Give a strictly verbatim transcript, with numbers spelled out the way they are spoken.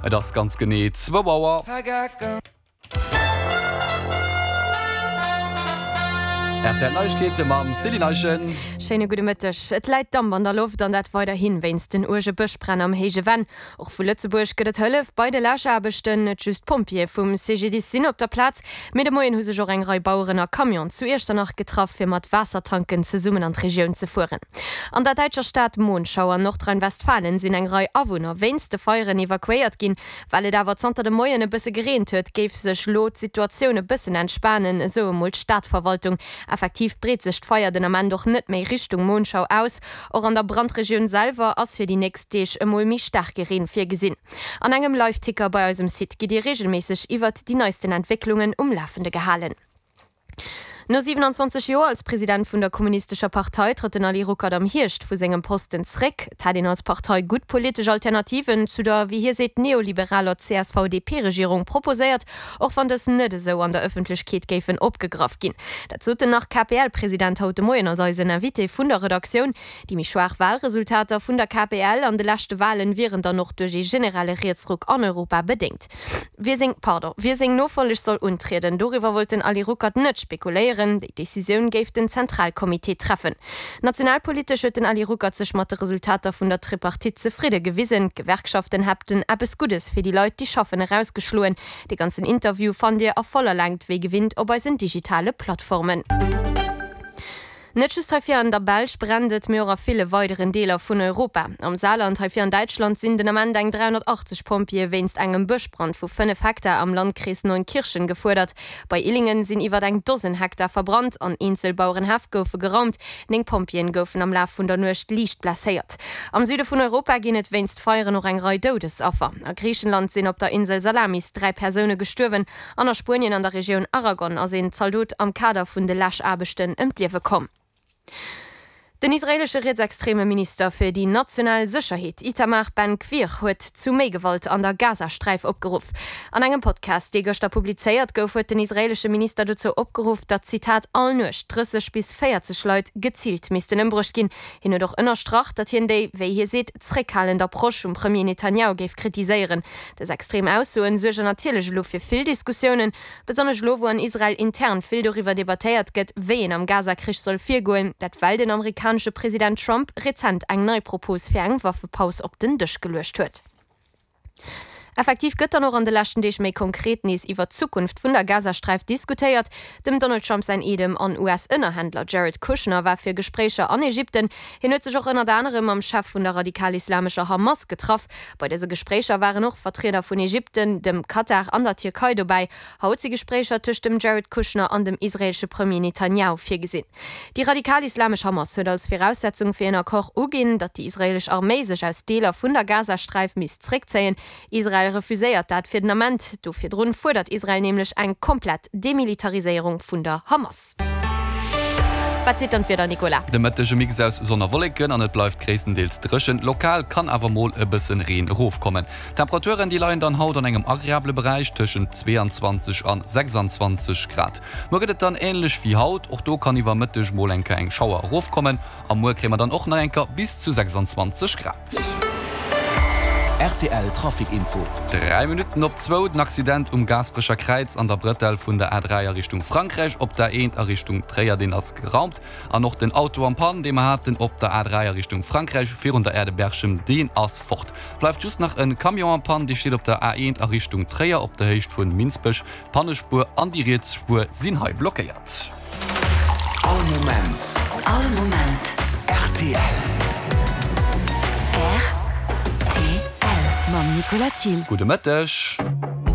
Et ass ganz genee zwou Auer. Rtl Neiegkeete mam Céline Eischen. Schéine gudde Mëtteg. Et läit Damp an der Loft an dat weiderhi wéinst den uerge Bëschbränn am Héije Venn. Och vu Lëtzebuerg gëtt et Hëllef bei de Läschaarbechten. Net just d'Pompjeeë vum CGDIS sinn op der Plaz, mee de Moien hu sech och eng Rei Baueren a Camionen zu Iechternach getraff, fir mat Waassertanken zesummen an d'Regioun ze fueren. An der däitscher Stad Monschau an Nordrhein-Westfalen sinn eng Rei Awunner wéinst de Feieren evakuéiert ginn. Well et awer zanter dem Moien e bësse gereent huet, géif sech lo d'Situatioun e bëssen entspanen, esou emol d'Stadverwaltung. Effektiv breet sech d'Feier den Ament och net méi Richtung Monschau aus. Och an der Brandregioun selwer ass fir déi nächst Deeg emol méi staarke Reen virgesinn. An engem Liveticker bei eisem Site gitt Dir reegelméisseg iwwert déi neisten Entwécklungen um Lafende gehalen. No siwenanzwanzeg Joer als President vun der Kommunistescher Partei trëtt den Ali Ruckert am Hierscht vu sengem Posten zréck. Et hätt een als Partei gutt politesch Alternativen zu der, wéi hie seet, neoliberaler C S V D P-Regierung proposéiert, och wann dës net esou an der Ëffentlechkeet géifen opgegraff ginn. Dat sot den Nach-K P L-President haut de Moien als eisen Invité vun der Redaktioun. Déi méi schwaach Walresultater vun der K P L an de leschte Walen wieren dann och duerch ee generelle Rietsruck an Europa bedéngt. Wie seng, pardon, wie seng Nofolleg soll untrieden, doriwwer wollt den Ali Ruckert net spekuléieren. Déi Decisioun géif den Zentralcomité treffen. Nationalpolitesch huet den Ali Ruckert sech mat de Resultater vun der Tripartite zefridde gewisen. D'Gewerkschaften hätten eppes Guddes fir déi Leit, déi schaffen, erausgeschloen. De ganzen Interview fannt Dir a voller Längt wéi gewinnt op eisen digitale Plattformen. Net just hei vir an der Belsch brennt et, mee och a ville weideren Deeler vun Europa. Am Saarland, hei vir an Däitschland, sinn den Ament eng dräihonnertachtzeg Pompjeeë wéinst engem Bëschbrand vu fënnef Hektar am Landkrees Neunkirchen gefuerdert. Bei Illingen sinn iwwer eng Dosen Hektar verbrannt an eenzel Bauerenhäff goufe geraumt. Néng Pompjeeën goufen am Laf vun der Nuecht liicht blesséiert. Am Süde vun Europa ginn et wéinst Feieren och eng Rei Doudesaffer. A Griichenland sinn op der Insel Salamis dräi Persoune gestuerwen an a Spuenien an der Regioun Aragon ass een Zaldot am Kader vun de Läschaarbechten ëm d'Liewe komm. Den israeelesche rietsextreme Minister fir déi national Sécherheet Itamar Ben-Gvir huet zu méi Gewalt an der Gazasträif opgeruff. An engem Podcast, dee gëschter publizéiert gouf, huet den israeelesche Minister dozou opgeruff, datt, Zitat, all Nuecht drësseg bis véierzeg Leit geziilt missten ëmbruecht ginn. Hien huet och ënnerstrach, datt hien déi, wéi hie seet, zréckhalend Approche vum Premier Netanjahu géif kritiséieren. Dës extrem Aussoen suergen natierlech elo fir vill Diskussiounen, besonnesch elo wou an Israel intern vill doriwwer debattéiert gëtt, wéi een am Gaza-Krich soll virgoen, dat well den amerikanesche President Trump rezent eng nei Propos fir eng Waffepaus op den Dësch geluecht huet. Effektiv gëtt dann och an de leschten Deeg méi konkret nees iwwer d'Zukunft vun der Gazasträif diskutéiert. Dem Donald Trump säin Eedem an U S-Ënnerhändler Jared Kushner war fir Gespréicher an Ägypten. Hien huet sech och ënnert anerem mam Chef vun der radikal-islamescher Hamas getraff. Bei dëse Gespréicher waren och Vertrieder vun Ägypten, dem Katar an der Tierkei dobäi. Haut si Gespréicher tëscht dem Jared Kushner an dem israeelesche Premier Netanjahu virgesinn. Déi radikal-islamesch Hamas huet als Viraussetzung fir een Accord uginn, datt déi israeelesch Arméi sech aus Deeler vun der Gazasträif misst zréckzéien. Israel refuséiert dat fir den Ament. Do virdrun fuerdert Israel nämlech eng komplett Demilitariséierung vun der Hamas. Wat seet dann d'Wieder, Nicolas? De Mëtteg e Mix aus Sonn a Wolleken an et bleift gréisstendeels dréchen. Lokal kann awer mol e bëssen Reen erofkommen. D'Temperaturen déi leien dann haut an engem agreabele Beräich tëschent zweeanzwanzeg an sechsanzwanzeg Grad. Muer gëtt et dann änlech wéi haut, och do kann iwwer Mëtteg mol eng Kéier eng Schauer erofkommen a muer kréie mer dann och nach eng Kéier bis zu sechsanzwanzeg Grad. R T L Trafic Info. Dräi Minutten op zwou, den Accident um Gaasperecher Kräiz an der Brëtell vun der A dräi a Richtung Frankräich op der A eent a Richtung Tréier, deen ass geraumt. An och den Auto en panne, dee mer haten op der A dräi a Richtung Frankräich virun der Aire de Berchem, deen ass fort. Bleift just nach e Camion en panne, dee steet op der A eent a Richtung Tréier op der Héicht vun Minsbech. D'Pannespuer an déi riets Spuer sinn hei blockéiert. All Moment. All Moment. R T L. R T L mam Nicolas Thiel. Gudde Mëtteg.